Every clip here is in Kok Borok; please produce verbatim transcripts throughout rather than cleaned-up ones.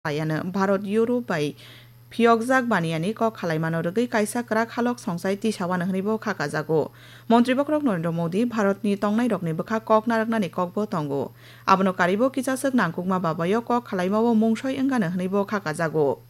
Ayano Bharat Europe bai phiyokjak baniyani kok khalaimano rwgwi kaisa kwrak halok songsai tisawano hwnwibo kha kajago. Montri bokhorok Narendra Modi Bharatni tongnairokni bwkha kok narwknani kokbo tongo. Abono karibo kichaswk nangkukma babayo kok khalaimao mungsoi wngano hwnwibo kha kajago.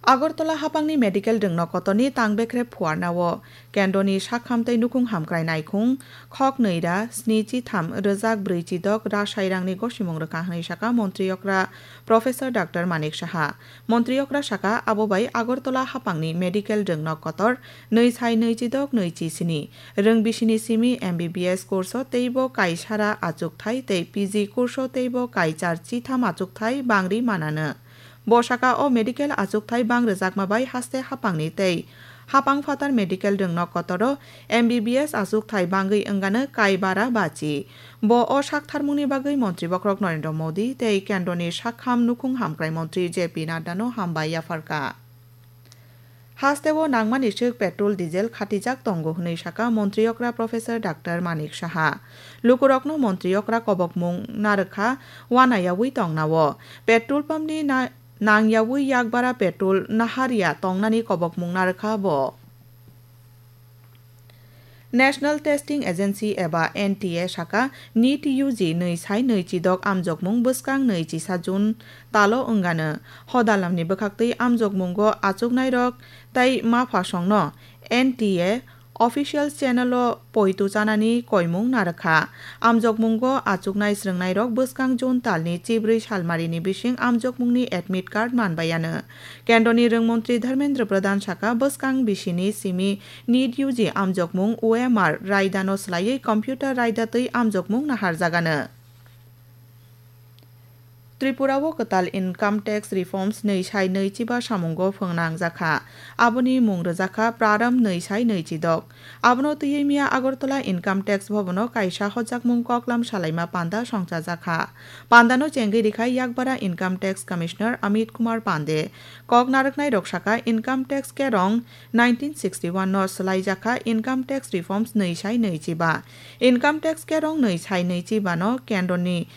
Agartala hapangni medical rwngno kotorni tang bekrep phuarnao kendroni sakham tei nukhung hamkrai naikhung khok nwi ra sni chitham rwjak brwi chidok ra sairangni gosimung rwkha hwnwi saka montri okra Professor Doctor Manik Saha. Montri okra saka abo bai Agartala hapangni medical rwngno kotor nwi sai nwi chidok nwi chi sini rwng bisini simi M B B S kurso teibo kaisara achukthai tei P G kurso teibo kaichar chitham achukthai bangri manano. Bo saka o medical achukthai bang rwjakma bai haste hapangni tei hapang phatar medical rwngno kotoro M B B S achukthai bangwi wngano kai bara bachi. Bo o saktharmungni bagwi montri bokhorok Narendra Modi tei kendroni sakham nukhung hamkrai montri J P Naddano hambai yapharkha. Hasteo nangmani swk petrol, diesel khatijak tongo hwnwi saka montri okra Professor Doctor Manik Saha. Lukurokno montri okra kobokmung narwkha wanayawi tongnao. Petrol pumpni na-, nangyawi yakbara petrol naharya tongnani kobokmung narwkha bo. National Testing Agency eba N T A saka NEET U G nwi sai nwi chidok amjokmung bwskang nwi chisa June talo wngano. Hodalamni bwkhaktwi amjokmungo achuknairok tei maphasongno N T A official channel-o poito chanani koimung narwkha. Amjokmungo achuknai srwngnairok bwskang June talni chibrwi salmarini bising amjokmungni admit card manbaiano. Kendroni rwngmontri Dharmendra Pradhan saka bwskang bisini simi NEET U G amjokmung O M R raidano swlaiwi computer raidatwi amjokmung naharjagano. Tripura o kwtal income tax reforms nwi sai nwi chiba samungo phwnangjakha. Aboni mung rwjakha Praram nwi sai nwi chidok. Abono twiwi miya Agartala Income Tax Bhavan o kaisa hojakmung koklam salaima panda songchajakha. Pandano chengwi rikha Yakbara Income Tax Commissioner Amit Kumar Pande. Kok narwknai rok saka Income Tax Kerong nineteen sixty-one no swlaijakha Income Tax Reforms nwi sai nwi chiba. Income Tax Kerong nwi sai nwi chiba no kendroni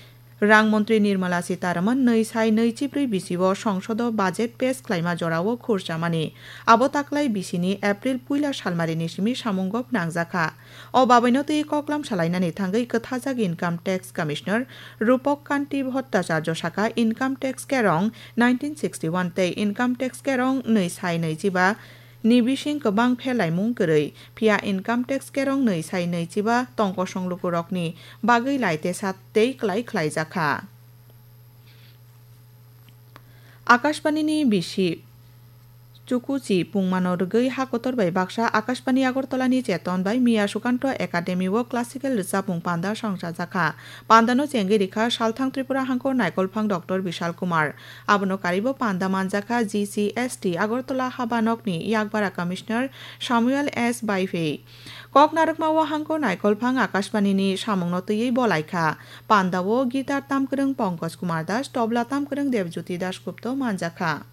Rang montri Nirmala Sitharaman nwi sai nwi chibrwi bisio songsodo budget pass khlaima jorao khurchamani. Abo taklai bisini April puila salmarini simi samungo phwnangjakha. O babaino twi koklam salainani thangwi kwthajak Income Tax Commissioner Rupak Kanti Bhattacharya saka Income Tax Kerong nineteen sixty-one tei Income Tax Kerong nwi sai nwi chiba ni bising kwbang phelaimung kwrwi, phiya income tax kerong nwi sai nwi chiba tongkosong lukurokni bagwi laitesa tei klai khlaijakha. Akashbanini bisi Chukuchi pungmano rwgwi ha kotor bai baksa Akashbani Agartalani Cheton bai Miya Sukanto Academy o classical rwchapmung panda songchajakha. Pandano chengwi rikha Salthang Tripura Hangkor Naikolphang Doctor Bishal Kumar. Abono karibo panda manjakha G C S T Agartala habanokni Yakbara Commissioner Samuel S Baifei. Kok narwkma o Hangkor Naikolphang Akashbanini samungno twiwi bolaikha. Pandao guitar tamkwrwng Pankaj Kumar Das, tobla tamkwrwng Debjyoti Das Gupta manjakha.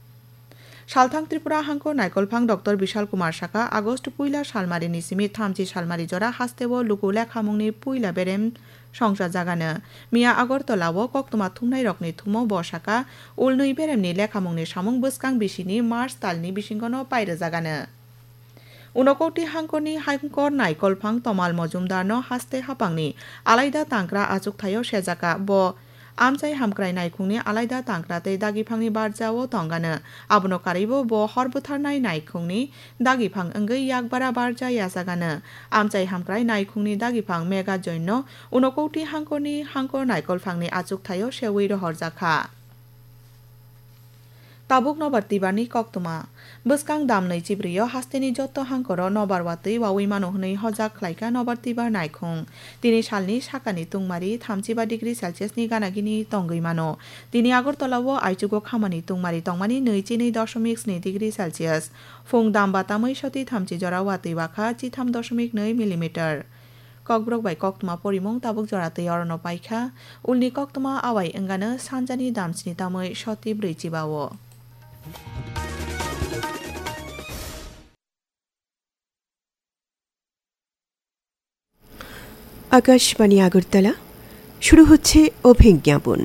Salthang Tripura Hangkor Naikolphang Doctor Bishal Kumar saka August puila salmarini simi thamchi salmari jora hasteo luku lekhamungni puila berem songchajagano. Miya Agartala o koktwma thumnairokni thumo bo saka ulnwi beremni lekhamungni samung bwskang bisini March talni bisingono pairwjagano. Unokoti Hangkorni Hangkor Naikolphang Tomal Mojumdarno haste hapangni alaida tangkra achukthaio sejaka. Bo amchai hamkrai naikhungni alaida tangkra tei dagiphangni barjao tongano. Abono karwibo bo hor bwtharnai naikhungni dagiphang wngwi yakbara barja yachagano. Amchai hamkrai naikhungni dagiphang Mega Joinno Unokoti Hangkorni Hangkor Naikolphangni achukthaio sewi rohorjakha. Tabuk Nobar Twibarni koktwma. Bwskang damnwi chibrwio hasteni jotto hangkoro nobar watwi wawi mano hwnwi hojak khlaikha Nobar Twibar naikhung. Tini salni sakani tungmari thamchiba degree Celsius ni ganagini tongwi mano. Tini Agartala o aichugo khamani tungmari tongmani nwi chinwi dosomik sni degree Celsius. Phung damba tamwi soti thamchi jora watwi wakha chitham dosomik nwi millimeter. Kokborok bai koktwma porimung tabuk jora twi orono paikha. Ulni koktwma awai wngano sanjani damsni tamwi soti brwi chiba o. Akashvani আগরতলা, শুরু হচ্ছে অভিজ্ঞাপন।